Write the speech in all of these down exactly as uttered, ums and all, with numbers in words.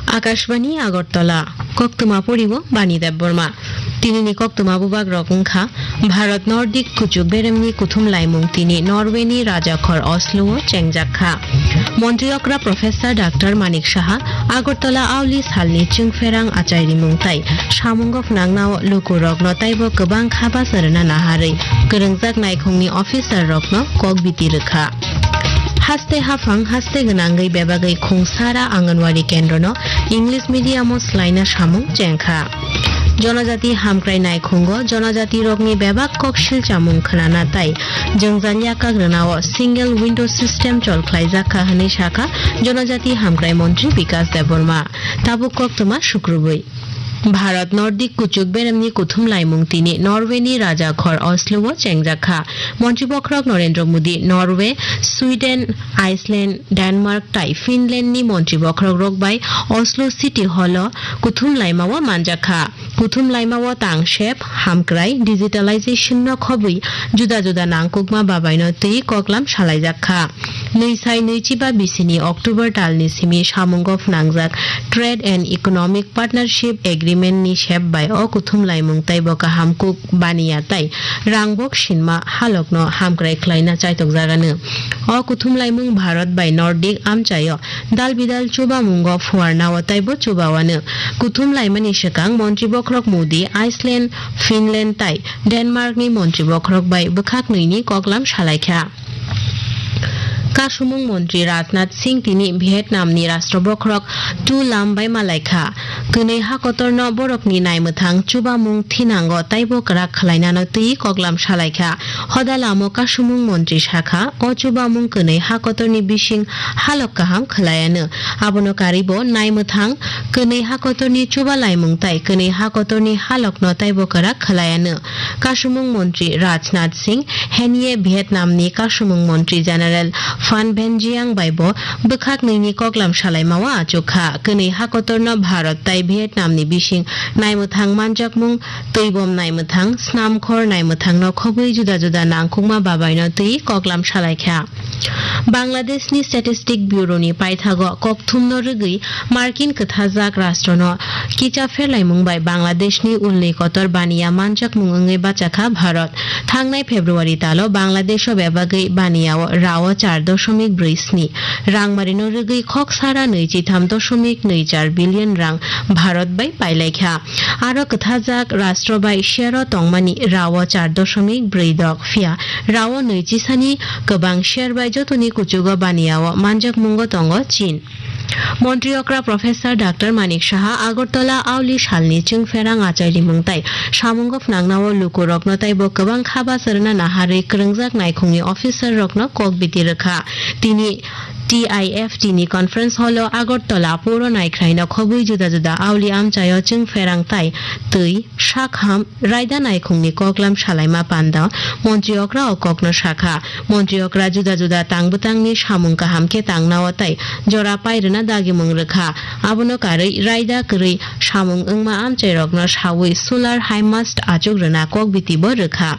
Akashbani Agartala, koktwma poriwo Bani Debbarma. Tinini koktwma bubagrok wngkha: Bharat Nordic kuchuk beremni kuthum laimung tini Norway ni rajakhor Oslo o chengjak kha. Montri okra Professor Doctor Manik Saha Agartala auli salni chwngpherang achairimung tai samungo phwnangnao lukurokno taibo kwbang kha bacha rwna naharwi kwrwngjak naikhungni officer rokno kok biti rwkha. Haste haphang haste gwnangwi bebagwi Khungsara Anganwadi kendrono English medium o swlaina samung chengkha. Jonojati hamkrai naikhungo jonojati rokni bebak kok silchamung khwnana tai jwngjal yakak rwnao single window system chol khlaijak kha hwnwi sakha Jonojati hamkrai montri Bikas Debbarma. Tabuk koktwma sukrubwi. Bharat Nordic kuchuk beremni kuthum laimung tini Norway ni rajakhor Oslo o chengjak kha. Montri bokhorok Narendra Modi Norway, Sweden, Iceland, Denmark tai Finland ni montri bokhorok rok bai Oslo City Hall o kuthum laima o manjak kha. Kuthum laima o tang sep, hamkrai, digitalization no khobwi juda juda nangkukma babai no twi koklam salaijak kha. Nwi sai nwi chiba bisini October talni simi samungo phwnangjak Trade and Economic Partnership Agreement ni sep bai o kuthum laimung taibo kaham kuk baniya tai rangbok sinma halokno hamkrai khlaina chaitokjagano. O kuthum laimung Bharat bai Nordic amchaio dal bidal chubamungo phuarnao taibo chubawano. Kuthum laimani swkang montri bokhorok Modi Iceland, Finland tai Denmark ni montri bokhorok bai bwkhak nwi ni koklam salaikha. Kasumung montri Rajnath Singh tini Vietnam ni rashtra bokhorok Tu Lam bai malaikha. Kwnwi hakotorno borokni naimwthang chubamung thinango taibo kwrak khwlainano twi koklam salaikha. Hoda lamo kasumung montri sakha, o chubamung kwnwi hakotorni bising halok kaham khwlaiano. Abono karwibo naimwthang kwnwi hakotorni chubalaimung tai kwnwi hakotorni halokno taibo kwrak khwlaiano. Kasumung montri Rajnath Singh henie Vietnam ni kasumung montri General Phan Van Jiang bai bo bwkhak nwi ni koklam salaima o achuk kha. Kwnwi hakotor no Bharat tai Vietnam ni bising naimwthang manjakmung, twibom naimwthang, snamkhor naimwthang no khobwi juda juda nangkukma babai no twi koklam salai kha. Bangladesh ni Statistic Bureau ni paithago kokthum no rwgwi Markin kwthajak rashtra no kicha pherlaimung bai Bangladesh ni ulni kotor baniya manjakmung wngwi bachakha Bharat. Thangnai February talo Bangladesh o bebagwi baniya o rao char doshomik brwi sni rangmari no rwgwi khok sara nwichitham doshomik nwi char billion rang Bharat bai pailaikha. Aro kwthajak rashtra bai share o tongmani rao char doshomik brwi dok, phiya rao nwi chisani kwbang share bai jotoni kuchugo baniya o manjakmungo tongo Chin. Montri okra Professor Doctor Manik Saha Agartala auli salni chwngpherang achairimung tai samungo phwnangnao lukurokno taibo kwbang kha bacha rwna naharwi kwrwngjak naikhungni officer rokno kok biti rwkha. Tini T I F T ni conference hall o Agartala puro naikhraino khobwi juda juda auli amchaio chwngpherang tai twi sakham raida naikhungni koklam salaima panda montri okra o kokno sakha. Montri okra juda juda tang bwtangni samung kaham khe tangnao tei jora pai rwna dagimung rwkha. Abono karwi raida kwrwi samung wngma amchairokno sawi solar high mast achuk rwna kok biti bo rwkha.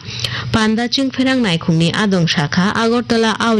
Panda chwngpherang naikhungni adong sakha Agartala auli